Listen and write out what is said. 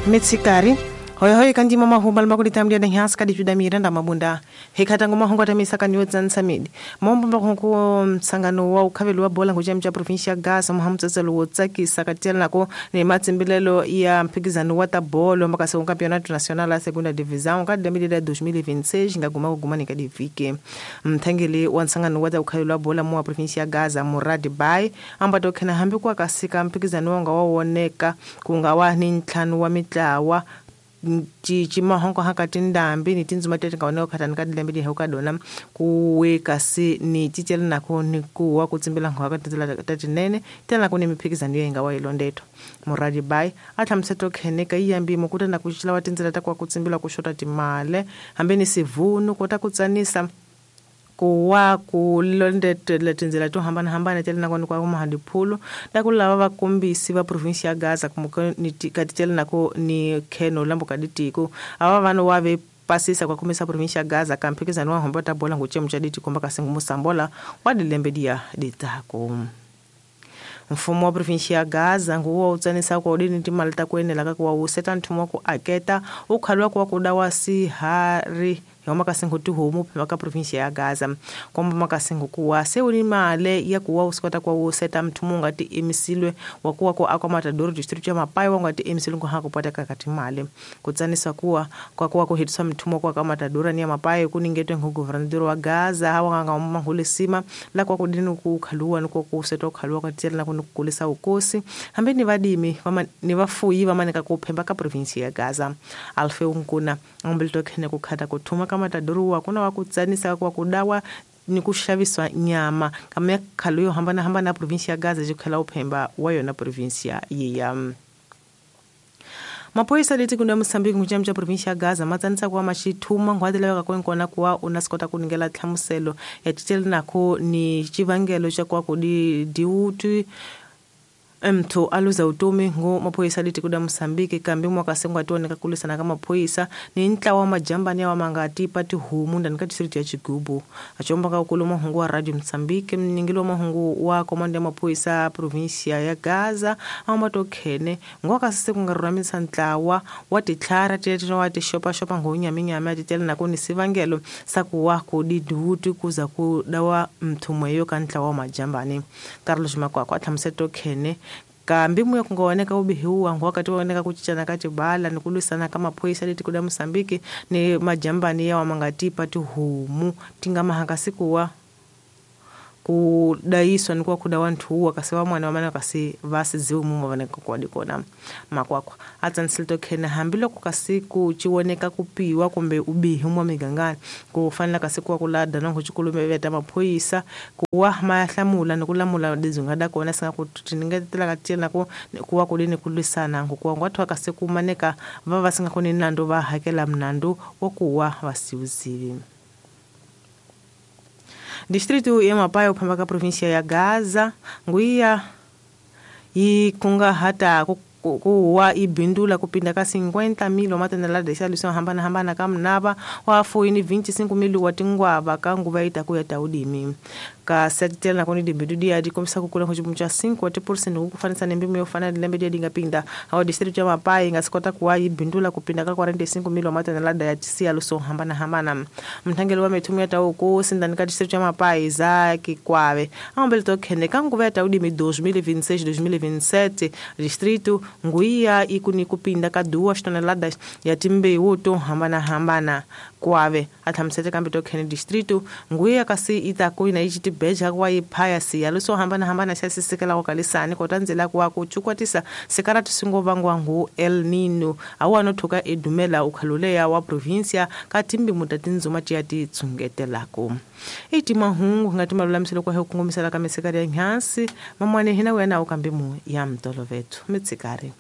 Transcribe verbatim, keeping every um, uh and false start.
Mitsikari hoy hoy kandi mama humbal makuli tamdia na hias kadi juda miranda mabunda hekata ngoma hongo tamisa kani wotsan samidi mombo mbako msangano wa ukhavelo wa bola ngoja mcha provincia Gaza muhamtsetselo wo tsakisa katela nako ne matsimbilelo ya mphikizano wa ta bolo makase campeonato nacional la segunda divisão ka lembe dois mil e vinte e seis ngaguma kuguma ni kadivike mthengeli wa nsangano wa ta ukhavelo wa bola mu provincia Gaza Murad Bay ambato khena hambi kwa kasika mphikizano wanga wa woneka kungawa ni ntlhanu wa mitlawa cici mahongo hakati ndambi ni tindzuma tete nga oneka khatani ka dilembe di heuka dona kuwe kasi ni cicela nako ni kuwa ku tsimbela ngo ka tindzela ta tinene tela nako ni miphikizano yo nga wa ilondeto Muradi Bay a hlamuseto kheneka yi yambi mukuta na ku cicela wa tindzela ta kwa ku tsimbela ku xota timale hambi ni sivunu kota ku tsanisa kuwa ku londetela tindzela to hambanahambana tele nako ni kwa mahadiphulo ta ku lava vakombisi va province ya Gaza kumuka ni katitela nako ni kheno lambo ka ditiko ava vanhu wa ve pasisa kwa kumisa province ya Gaza ka mphikizano wa hombo ta bola ngochemu cha ditiko mbaka singu wa dilembe dia ditako mfumo wa province ya Gaza nguwo utsanisa kwa udini timali ta kuenela ka kuwa useta nthumo ku aketa ukhalwa kwa kudawa sihari yoma kasingo tihomu phema ka province ya Gaza komba makasingo kuwa se uni male ya kuwa usikota kwa useta mthumo ngati emisilwe wa kuwa ko akwa Matador district ya Mapai wa ngati emisilwe ngo hakupata kakati male kutsanisa kuwa kwa kuwa kuhitiswa mthumo kwa ka Matador ni ya Mapai kuningetwe ngo governador wa Gaza hawa nga mahulesima la kwa kudini ku khaluwa ni ku useta ukhaluwa ka tsela na kukulisa ukosi hambe ni vadimi ni vafuyi vamanika ku phemba ka province ya Gaza Alfeu Nkuna ambelto khene kukhata kuthuma ka Matador wa kuna wa kutsanisa kwa kudawa ni kushaviswa nyama kama khalo yo hambana hambana province ya Gaza jikhela uphemba wa yona province ya ya Mapoisa leti kunda Mozambique ngucham cha province ya Gaza matsanisa kwa machithuma ngwadela ka kwenkona kuwa unasikota kuningela tlhamuselo ya titele nako ni chivangelo cha kwa kudi diuti mthu aluza utomi ngo maphoyisa leti kuda Mozambique kambi mwakasengwa tioneka kulisana ka maphoyisa ni ntlawa wa majambani ya mangati pati humu ndani ka district ya Chigubu achomba ka ukulu mahungu wa Radio Mozambique mningilo mahungu wa komando ya maphoyisa provincia ya Gaza ambato khene ngwakasise kungaruramisa ntlawa wa titlhara tete wa tishopa shopa ngonyaminyama titele nako ni sivangelo sakuwa kudi duti kuza kudawa mthumweyo ka ntlawa wa majambani Carlos Makwakwa tlhamuseto khene kambi muya kungaoneka ubihiwa wakati waoneka kuchichana kati bala ni kulisana kama maphoyisa leti kuda Mozambique ni majambani ya wamangati pati humu tingamahanga sikuwa kudaiswa ni kwa kuda wantu wakasiwa mwana wamana kasi vasi ziumu mavaneka kwa dikona makwakwa atsansilto khena hambilo kukasiku chiwoneka kupiwa kumbe ubihi mwa migangani kufanela kasikuwa kulada na kuchikulume veta maphoyisa kuwa mayahlamula ni kulamula dizungada kona singa kutiningetela katiyela ku kuwa kulini kulisana ngokuwa ngwathu akasiku maneka vava singa kuninando va hakela mnandu wokuwa vasiuzivi Distrito ya Mapai uphamba ka provincia ya Gaza nguya yikunga hata kuwa ibindula kupinda ka cinquenta mil wa matonelada xa hambana hambana ka mnava wa foini vinte e cinco mil wa tingwava ka nguva yi ta ku ya ta udimi ka sekitela nakoni dibindu dia di kombisa ku kula ku cha cinco por cento ku fanisa ni mbimo yo fana lembe dia dinga pinda awa distrito ya Mapai nga sikota kuwa ibindula kupinda ka quarenta e cinco mil wa matonelada ya tisialo so hambana hambana mthangelo wa methumu ya ta ku sindani ka distrito ya Mapai za Kikwave ambele to khene ka nguva ya ta udimi dois mil e vinte e seis dois mil e vinte e sete distrito nguya ikuni kupinda ka duas toneladas ya timbewu to hambana hambana kwave athamsete kambe to khene distrito nguya kasi ita kuina ichiti beja kwa iphaya siya so hambana hambana xa sisikela ko kalisani kota ndzela kwa ku chukwatisa sikarati singo vangwa ngu El Nino awa no thuka edumela ukhaluleya wa provincia ka timbi muta tindzuma tiya ti tsungetelako iti mahungu ngati malulamiselo kwa hukungumisela ka misikari ya nhansi mamwane hina wena ukambi mu ya mtolovethu mitsikari.